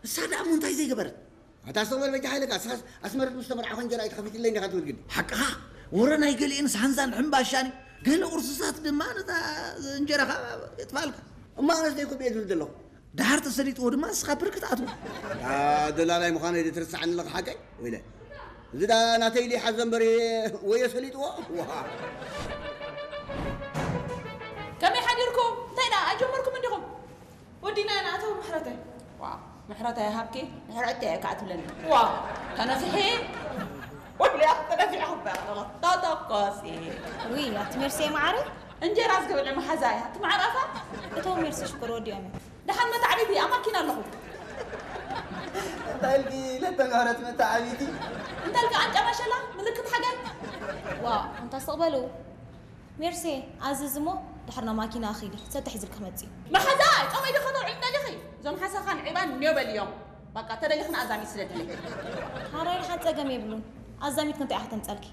እሳ ደኣ እሞ እንታይ ዘይገበረት? ኣታ ስተቕበል በጃ ሓይለካ፣ እስኻስ ኣስመረት ምስ ተመርዓኹ እንጀራ ኣይትኸፊትለይ እንዲኻ ትብል ግዲ። ሓቅኻ፣ ወረ ናይ ገሊኤንስ ሃንዛን ሕምባሻን እዩ። ገለ ቁርስታት ድማ ነታ እንጀራኻ የጥፋልካ። እሞ ኣነስ ደይኮም እየ ዝብል ዘለኹ። ደሓር ተሰሊጥዎ ድማ ንስኻ ብርክ ትኣትዎ። ኣታ ደላላይ ምዃነይ ዶ ትርስዓኒ ኣለኻ ሓቀይ? ወይለ። እዚ ደኣ ናተይ ኢሉ ይሓዞ እምበር ወዮ ሰሊጥዎ። ዋ። ከመይ ሓዲርኩም? እንታይ ደኣ ኣይጀመርኩም እንዲኹም? ወዲና ኢና ኣቶ ምሕረተይ። ዋ፣ ምሕረተይ ሃብኪ፣ ምሕረተይ እያ ከዓ ትብለኒ። ዋ፣ ተነፍሒ። ወዲያ ተነፊዐ ክበላ ኣለኹ። ተተኮሲ። ውይ፣ ኣቲ ሜርሴ መዓረይ። እንጀራ ዝገብለ መሓዛ እያ። እቲ መዓር ኣፋ። እቶም ሜርሲ ሽኮር ወዲኦም እዮም። ደሓን መታዕቢቲ፣ ኣብ ማኪና ኣለኹ። እንታይ ኢልኪ ለተጋረት መታዕቢቲ? እንታይ ኢልኪ ቃንጫ ማሸላ፣ ምልክት ሓገር? ዋ፣ ኣንታ ስተቕበሉ። ሜርሴ፣ ኣዝዝ እሞ ድሕር ናብ ማኪና ኣኺዲ፣ ሰተሕ ሒዝልኪ ክመጽእ እዩ። መሓዛ፣ ጾመይ ዶ ከተውዕል ደሊኺ? እዞም ሓሳኻን ዒባን ኔው በልዮም። በቃ፣ ተደሊኽና ኣዛሚት ስለድለይ። ሓራይ፣ ሓን ጸገም የብሉን። ኣዛሚት ክንታይ ኢኻ ተምጸልኪ?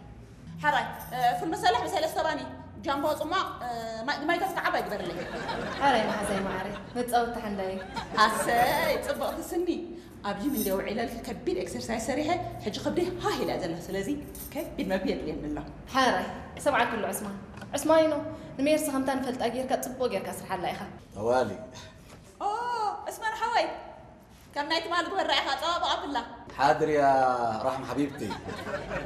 ሓራይ፣ እ፣ ፉል መሰላሕ ብሰለስተ ባኒ፣ ጃምቦ ጽሟቕ፣ እ፣ ማይ፣ ማይ ተፍካ ዓባይ ግበርለይ። ሓራይ፣ መሓዛይ መዓረይ፣ መጻወቲ ሓንዳይ። ኣሰይ፣ ጽብቕቲ ስኒ። ኣብ ጂም እንደ ውዒለልኪ ከቢድ ኤክሰርሳይዝ ሰሪሐ፣ ሕጂ ከብደይ ሃህ ኢላ ዘላ። ስለዚ ከቢድ መግቢ የድልየኒ ኣሎ። ሓራይ፣ ሰምዓኩ ኣሎ ዑስማን። ዑስማኒኖ፣ ንሜርሲ ከምታ ንፈልጣ ጌርካ ጽቡቕ ጌርካ ስርሓላ ኢኻ። ጠዋሊ። ኦ፣ ዑስማን ሓወይ፣ ከም ናይ ትማሊ ግበራ ኢኻ ጸባብቕ ኣብላ። ሓድር ያ ራሕማ ሓቢብቲ።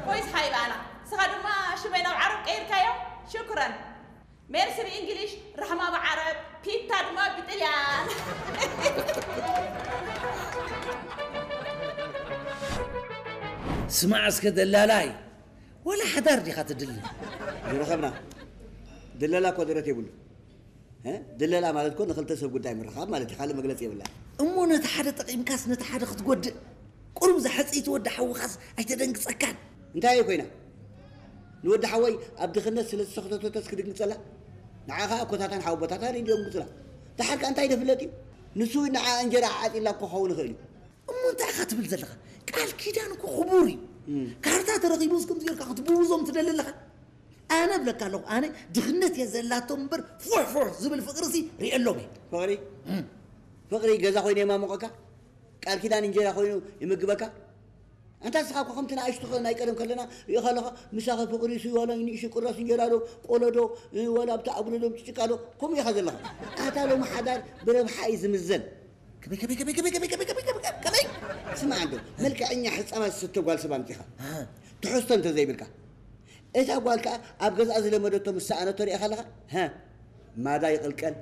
ኮይስ ሓይባና፣ ስኻ ድማ ሽመይ ናብ ዓረብ ቀይርካዮ? ሽኩረን። ሜርሲ ብእንግሊሽ፣ ራሕማ ብዓረብ፣ ፒታ ድማ ብጥልያን። ስማዕ እስከ ደላላይ፣ ወላ ሓዳር ዲኻ ትድሊ? ዝረኸብና። ድለላ እኮ ደረት የብሉ። እ? ድለላ ማለት እኮ ንኽልተ ሰብ ጉዳይ ምርኻብ ማለት እዩ። ካልእ መግለጺ የብላ። እሞ ነቲ ሓደ ጠቒምካስ ነቲ ሓደ ክትጎድእ? ቁሩብ ዝሓጽይቲ ወዲ ሓውኻስ ኣይተደንግጸካን? እንታይ እየ ኮይና? ንወዲ ሓወይ ኣብ ድኽነት ስለ ዝተኸተተተስ ክድንግጸላ? ንዓኻ ኮታታን ሓወቦታታን ይደንግጹላ። ደሓር ከኣ እንታይ ደፍለጥ እዩ? ንሱ ንዓ እንጀራ ዓጺላ እኮ ክኸውን ይኽእል እዩ። እሞ እንታይ ኢኻ ትብል ዘለኻ? ቃል ኪዳን እኮ ክቡር እዩ። እም። ካርታ ተረኺቡስ ከምዚ ጌርካ ክትብውዞም ትደሊ ኣለኻ? ኣነ እብለካ ኣለኹ፣ ኣነ ድኽነት እየ ዘላቶም እምበር ፉሕ ፉሕ ዝብል ፍቕሪሲ ርእየሎም እየ። ፍቕሪ? እም። ፍቕሪ ገዛ ኮይኑ የማሙቐካ? ቃል ኪዳን እንጀራ ኮይኑ ይምግበካ? ኣንታ ንስኻ እኮ ከምቲ ንኣሽቱ ኸ-፣ ናይ ቀደም ከለና ሪኢኻ ኣለኻ፣ ምሳኸ ፍቕሪ ሲ ዋላ ንእሽቶ ቁራስ እንጀራ ዶ፣ ቆሎ ዶ፣ እ፣ ዋላ ኣብቲ ኣጉዶ ዶ፣ ጭቃ ዶ፣ ከምኡ ኢኻ ዘለኻ። ኣታ ሎሚ ሓዳር ብረብሓ እዩ ዝምዘን። ከመይ፣ ከመይ፣ ከመይ? ስማዕ እንዶ፣ መልክዐኛ ሕጻባት ዝስተ ጓል ሰብ ኣምጺኻ። እ። ትሕዝቶ እንተ ዘይብልካ። እታ ጓል ከኣ ኣብ ገዝኣ ዝለመደቶ ምስ ሰኣነቶ ሪኢኻ ኣለኻ? ሃ፣ ማዳ ይቕልቀል፣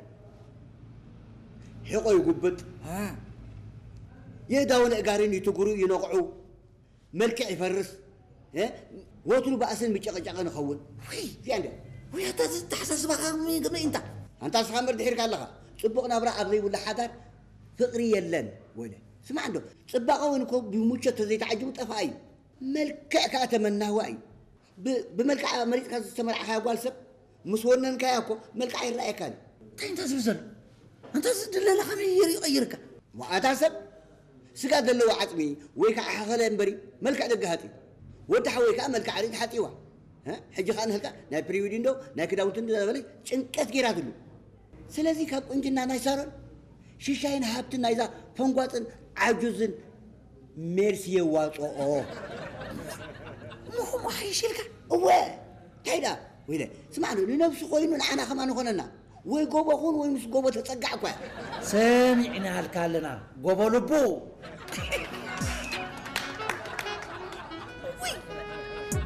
ሕቖ ይጉብጥ፣ ሃ፣ የእዳውን ኣእጋርን ይትጉሩ ይነቕዑ፣ መልክዕ ይፈርስ፣ እ፣ ወትሩ ባእስን ምጭቕጫቕን ይኸውን። ውይ፣ እዚኣ እንድያ። ውይ፣ ኣታ እዚ ኣተሓሳስባኻ ከመይ፣ ከመይ እንታ? ኣንታ ንስኻ እምበር ድሒርካ ኣለኻ። ጽቡቕ ናብራ ኣብ ዘይብሉ ሓዳር ፍቕሪ የለን። ወይለ፣ ስማዕ እንዶ፣ ጽባቐ እውን እኮ ብምቾት ተዘይተዓጂቡ ጠፋኢ እዩ። መልክዕ ከኣ ተመናዋ እዩ። ብ-፣ ብመልክዓ መሪጽካ ዝተመርዓኻያ ጓል ሰብ ምስ ወነንካያ እኮ መልክዓ ይረኣየካን እዩ። እንታይ እንተ ዝብል ዘሎ? ኣንታ እዚ ድለላ ከመይ ገይሩ ይቐይርካ? ዋኣታ ሰብ ስጋ ዘለዎ ዓጽሚ ወይ ከዓ ሓኸለ እምበሪ መልክዕ ደገ ሃጢ። ወዲ ሓወይ ከዓ መልክዓ ርእት ሓጢዋ። እ? ሕጂ ከዓ ንህልካ ናይ ፕሪዊዲንዶ ናይ ክዳውንቲ እንዳበለ ጭንቀት ገይራትሉ። ስለዚ ካብ ቁንጅና ናይ ሳሮን ሽሻይን ሃብትን ናይዛ ፈንጓጥን ዓጁዝን ሜርሲ የዋፅኦ። እሞ ከምኡ ሓይሽ ኢልካ? እወ፣ እንታይ ደኣ? ወይለ፣ ስማዕ፣ ንነብሱ ኮይኑ ንዓና ከማን ይኾነና። ወይ ጎቦ ኹን ወይ ምስ ጎቦ ተጸጋዕ እኳ። ሰሚዕናልካ ኣለና፣ ጎቦ ልቡ።